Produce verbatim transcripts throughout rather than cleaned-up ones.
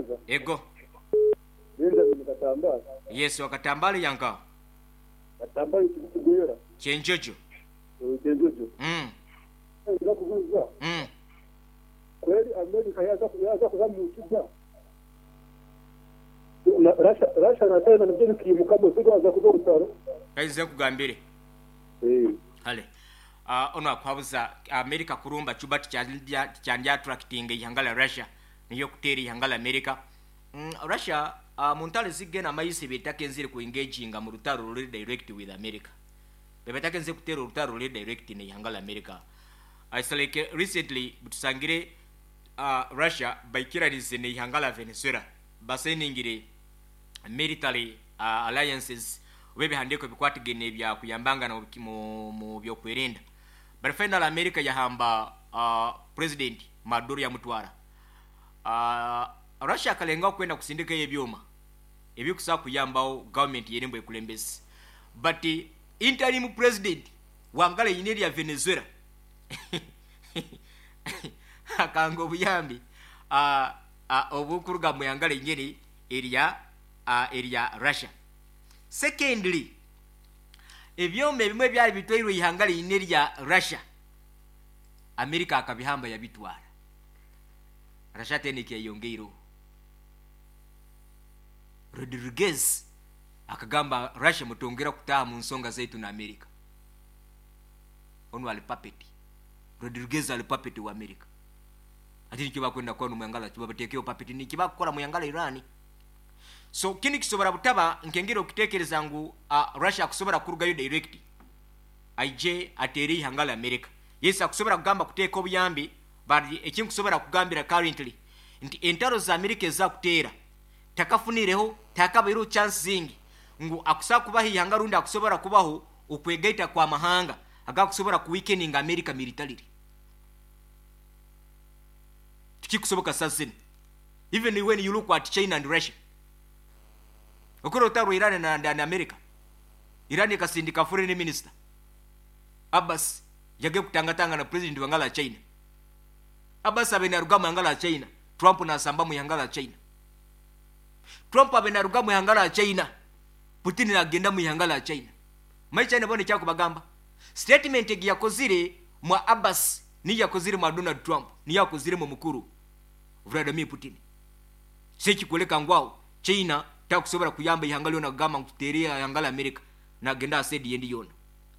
Kubanza. Ego. Benjamin Katambala. Yes, wakatambala yanka. Katambala kigwera. Kyenjojo. Kyenjojo. Mm. Nza kubuuza. Mm. Kweli Amerika yaza yaza kuza mu kibuga. Na Russia Russia na China nibyo bikimuka bose baza kuza gutaro. Kaize kugambire. Eh. Hale. Uh, ono akwabuza America kurumba Cuba tikyandya tikyandya attracting ihanga la Russia niyo kutera ihanga la America. Mm, Russia uh, muntale zigena maisi betakenzire ku engaginga mu rutaro ruri direct with America. Bebatakenze kutera urutaro ruri direct ne ihanga la America. Uh, it's like recently butusangire uh, Russia baikirarize ne ihanga la Venezuela baseningire military uh, alliances oba ebihandiiko bikwatagene bya kuyambangana mu, mu, mu byokwerinda. But final America yahamba uh, president Maduro yamutwara. Uh, Russia akalenga kwenda kusindika ebyoma ebikusa kuyambawo government yerembo ekulembezi, but uh, interim president wangala yine ya Venezuela akanga obuyambi uh, uh, obukuruga mu yangala nyene erya uh, erya Russia. Secondly, ebyoma ebimwe byali bitwairwe ihanga line lya Russia, America akabihamba yabitwara. Russia tena yongeireho. Rodriguez akagamba Russia mutongera kutaha mu nsonga zaitu na America. Ono ali puppet. Rodriguez ali puppet wa America. Ati nikyo bakwenda kwa numuyangala kibabateekeo puppet nikibakora muyangala Iran. So kini kisobora butaba nkengera okitekereza ngu uh, Russia akusobora kurugayo direct aije atere ihanga la America. Yes, akusobora kugamba kuteeka obuyambi, but ekinkusobora kugambira currently nti entaro za America ezakutera takafunireho takabairo chance zingi ngu akusa kubaho ihanga rundi akusobora kubaho okwegaita kwa mahanga agakusobora ku weakening America militarily. Tikikusoboka sasa. Even when you look at China and Russia, okoro otaro Iran na, na, na America. Iran ikasindika foreign minister Abbas yage kutangatanga na president wa ngala China. Abbas abe naruga mu ngala China, Trump na samba mu ngala China. Trump abe naruga mu ngala China, Putin agenda mu ngala China. Mai China bone kyakubagamba. Statement egi yakozire mwa Abbas ni yakozire mwa Donald Trump ni yakozire mu mukuru Vladimir Putin. Sekikoleka ngwao China takusobora kuyamba ihanga lyona kugamba nkuteria ihanga la America na genda asedi yendi yona.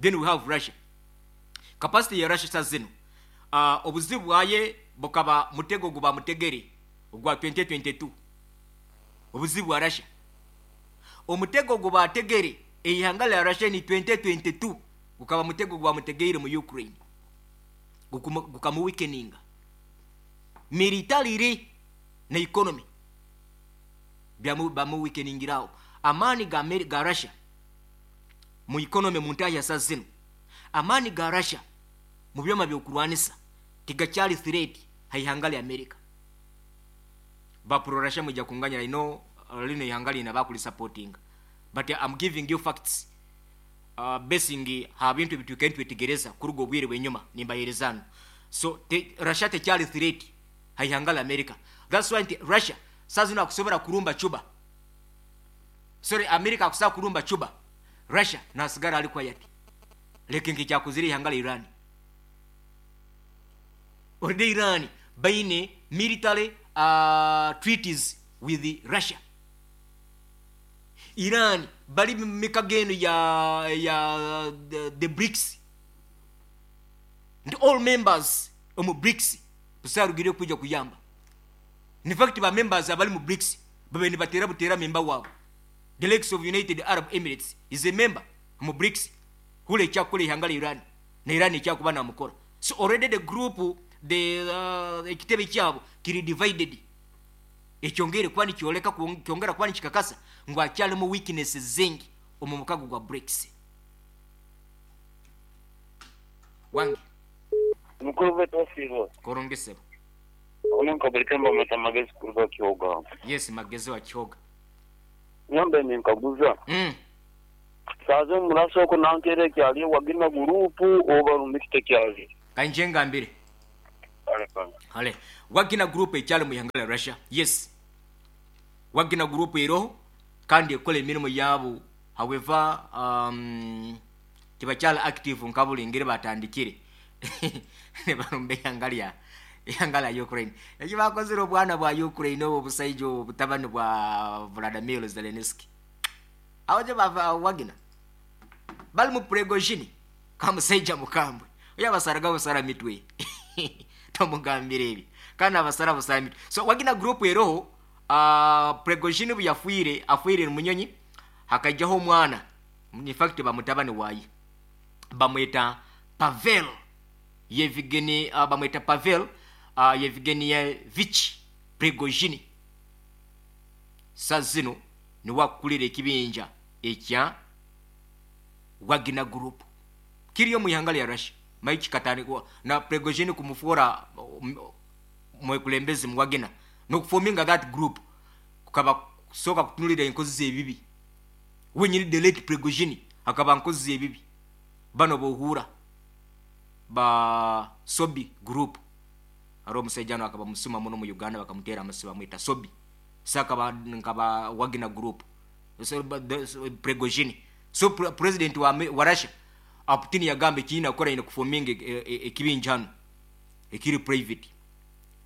Then we have Russia. Capacity ya Russia sa zino. Uh, obuzibu bwaye bukaba mutego guba mutegere ogwa twenty twenty-two. Obuzibu bwa Russia. Omutego guba tegere ihanga la Russia ni twenty twenty-two gukaba mutego guba mutegeire mu Ukraine. Gukamu weakeninga militarily na economy. Byamu bamu weakeningirao amani ga America ga Russia mu economy muntaya sa zino. Amani ga Russia mu byoma byokurwanisa tigakyali threat haihangale America. Ba pro Russia mujja kunganya ino lino ihangali na bakuli supporting, but I'm giving you facts uh, basing ha bintu bitukentu bitegereza kurugo bwire bwenyuma nimbaherezano. So te, Russia tekyali threat haihangale America. That's why Russia sazino akusobora kurumba Cuba. Sorry, America akusa kurumba Cuba. Russia nasigara ali quiet. Lekingi kyakuziri ihangala Iran. Already Iran baine military uh, treaties with the Russia. Iran bali mikageno ya ya the, the BRICS. And all members omu BRICS busarugire kuja kuyamba. In fact ba members abali mu BRICS babe ni batera butera member wabo. The likes of United Arab Emirates is a member mu BRICS. Hule kyakole ihangala Iran na Iran ekyakuba na mukora. So already the group the uh, ekitebe kyabo kiri divided. Ekyongere kwani kyoleka kyongera kwani kikakasa ngo akyali mu weaknesses zingi omu mukago gwa BRICS. Wangi mukuru wetu asibo korongese onenka bulitemba matamagezi kuruga Kihoga. Yes, magezi wa Kihoga. Nyambe ninkaguza. Mm. Saze murasoko nankere kyali wagina gurupu oba rumikite kyali. Kanjenga mbere. Hale. Hale. Wagina group ekyali mu yangala Russia. Yes. Wagner Group eroho kandi ekola emirimu yabo. However, um, tibakyali active nka buli ngeri batandikire ne barumba eihanga lya ihanga lya Ukraine. Eki bakozire obwana bwa Ukraine, obwo obusaija obwo obutabani bwa Vladimir Zelensky, aho gye bava Wagner bali mu Prigozhin kamusaija mukambwe oyo abasaraga busara mitwe, tomugambire ebi kandi abasara busara mitwe. So Wagner Group eroho. uh, Prigozhin bu yafiire, afiire munyonyi, hakajjaho omwana, in fact bamutabani waaye, bamweta Pavel Yevgeny, uh, bamweta Pavel uh, Yevgenyevich Prigozhin. Sa zino niwe akukulira ekibinja ekya Wagner Group kiriyo mu ihanga lya Russia. Mai kikatandikwa na Prigozhin kumufuura um, mwekulembezi mu Wagner nokuforminga that group kukaba kusooka kutunulira enkozi z'ebibi. Wenyini the late Prigozhin akaba nkozi z'ebibi, bano bohuura ba Sobi Group. Ari omusajja ano akaba musuma muno mu Uganda, bakamuteera amasi, bamwita Sobi. So akaba nkaba Wagner Group. So, ba- the- so, Prigozhin, so pre president wa, wa Russia Putin yagamba ekiyina kukora ine kuforminga ekibinja hano ekiri private.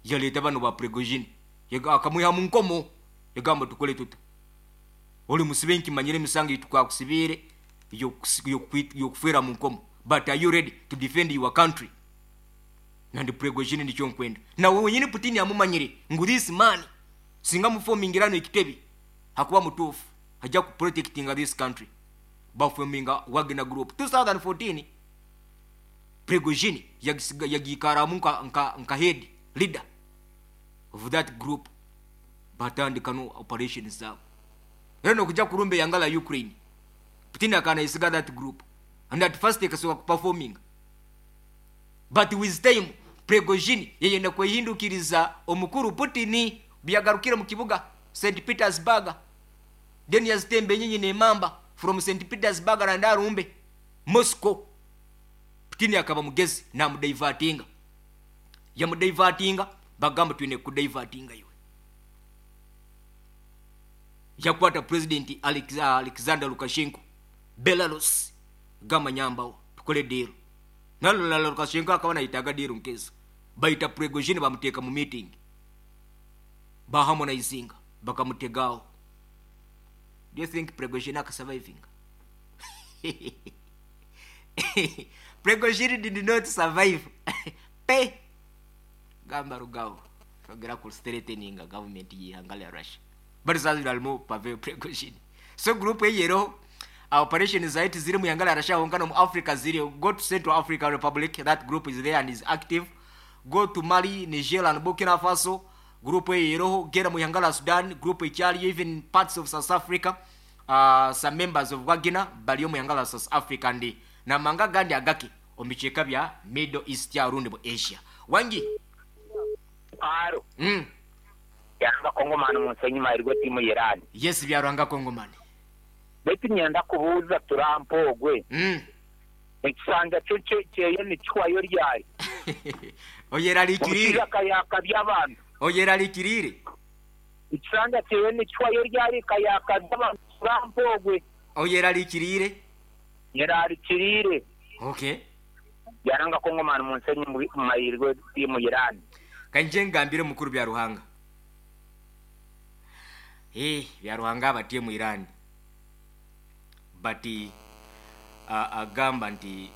Yaleeta bano ba Prigozhin, akamwiha mu nkomo, yagamba, "Tukole tuta? Oli musibe, nkimanyire emisango yitukakusibiire yokufiira mu nkomo, but are you ready to defend your country?" Nandi Prigozhin nikyo nkwenda nawe wenyini. Putin amumanyire ngu this man singa muformingirano ekitebi hakuba mutuufu, ajja kuprotectinga this country. Baforminga Wagner Group twenty fourteen. Prigozhin yagiikaramu nka, nka, nka head leader of that group. Batandika no operation zaabo era nokujja kurumba eyanga la Ukraine. Putin akanayisiga that group, and at first ekasobola kuperforminga, but with time Prigozhin yeyenda kwehindukiriza omukuru Putin. Byagarukire mu kibuga Saint Petersburg, then yazitemba enyinyi nemamba from Saint Petersburg randa arumbe Moscow. Putin akaba mugezi, namudivertinga, yamudivertinga, bagamba, "Twine kudivertinga iwe." Yakwata President Alex, Alexander Lukashenko Belarus, gamba, "Nyambawo tukole deal." Nalolala Lukashenko akaba nayitaga deal nkezo. Baita Prigozhin, bamuteeka mu meeting, baharmonizinga, bakamutegawo. Do you think Prigozhin akasurvivinga? Prigozhin did not survive pe. Gamba rugawo ogera ku threatening government yihanga lya Russia, but sasa alimu Pavel Prigozhin. So group eyero operation zaiti ziri mu ihanga lya Russia honka no mu Africa ziri. Go to Central African Republic, that group is there and is active. Go to Mali, Niger and Burkina Faso, group eyeroho. Gera mu ihanga la Sudan, group ekyaliyo. Even parts of South Africa, uh, some members of Wagner baliyo mu ihanga la South Africa and namanga gandi agake omu bicweka bya Middle East arundi mu Asia wangi. Aro. mm. Yanga Kongomani munsenyi mahirwe timu Irani. Yes, byarwanga Kongomani. Baitu nyenda kubuuza Trump ogwe, mm. ekisanja kyo kye- kyeye nikihwayo ryari? Oyeralikirire. Omushaija akayaka by'abantu. Oyeralikirire. Ekisanja kyeye nikihwayo ryari? Kayaka by'abantu Trump ogwe. Oyeralikirire. Nyerarikirire. Okay. Yaranga Kongomani munsenyi mahirwe timu Irani. Kanje ngambire mukuru bya Ruhanga, eh bya Ruhanga abatiye mu Iran, but uh, agamba nti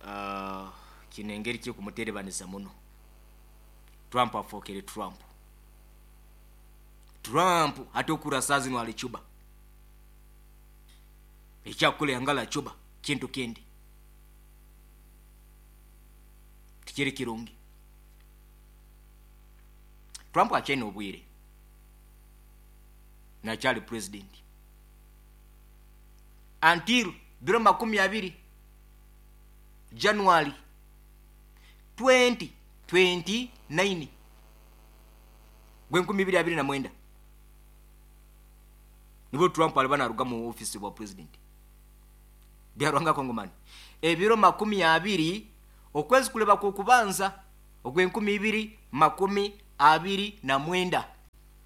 uh, kino engeri kyekumuterebanisa muno. Trump afookere Trump. Trump ate okura saa zino ali Cuba, ekyakukola yangala Cuba kintu kindi tikiri kirungi. Trump akyalina obwire, nakyali president until biro makumi abiri January twenty twenty-nine, gwenkumi ibiri abiri na mwenda, nibwo Trump aliba naruga mu ofisi bwa president. Byarwanga Kongomani, ebiro makumi abiri okwezi kuleba kukubanza ogwenkumi ibiri makumi abiri na mwenda.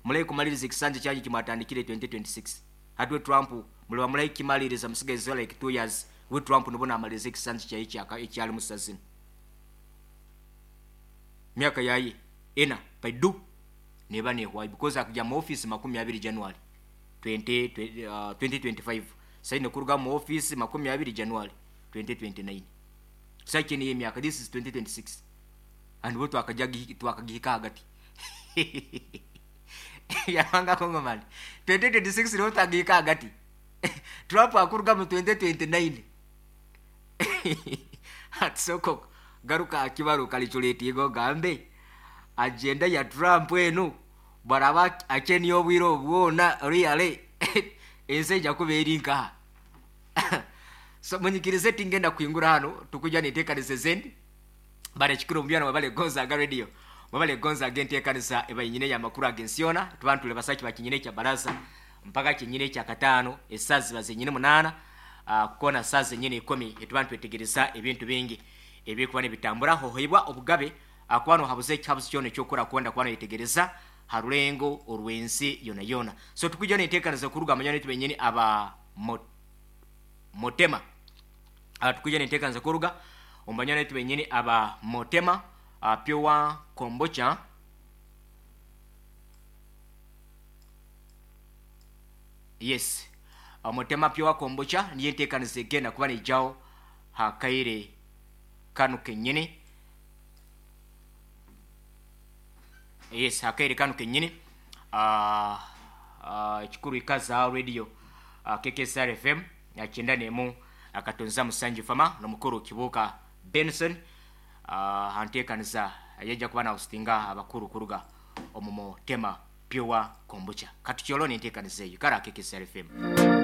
Mulayi kumaliriza ekisanja kyanyu kimwatandikire twenty twenty-six. Hatwe Trump muliba mulayi kimaliriza musigaze like two years. We Trump nubona amaliriza ekisanja kyayi kyaka ekyali musazini. Myaka yayi ena paidu neba nehwayi because akujja mu office makumi abiri January twenty, uh, twenty twenty-five. Saine kuruga mu office makumi abiri January twenty twenty-nine. Saiki ni myaka, this is twenty twenty-six. And wote wakajagi twakagihika hagati. Yabanga Kongomani. twenty twenty-six ni twakagihika hagati. Trump akuruga mu twenty twenty-nine. Atsoko garuka akibaru kalichuleti go gambe. Agenda ya Trump enu baraba acheni obwiro bwona really ense jakuba erinka. So munyikirize tingenda kuingura hano tukuja nitekanise zendi. Bare chikuru mbyana wabale Gonzaga Radio. Wabale Gonzaga entekanisa eba nyine ya makuru agensiona tubantu le basaki bakinyine kya baraza mpaka kinyine kya katano esazi bazenyine munana uh, kona sazi nyine ikumi etubantu etegereza ebintu bingi ebikuba nebitambura hohoibwa obugabe akwano habuze chabuze kyone kyokora kwenda kwano yetegereza harulengo orwensi yona yona. So tukuja nitekanisa kuruga manyane tubenyene aba mot, motema. Uh, tukuja nitekanisa kuruga ombanyane tubenyene aba motema uh, pure kombucha. Yes, uh, motema pure kombucha niye ntekanisa egenda kuba nijao hakaire kanu kenyene. Yes, hakaire kanu kenyene. Uh, uh, chikuru ikaza radio uh, K K S R F M yakenda nemu akatonza musanji fama no mukuru Kibuka Benson uh, hantekanisa yeja kuba na hostinga abakuru kuruga omumo tema pure kombucha katukyolo ntekanisa eyo kara K K S R F M.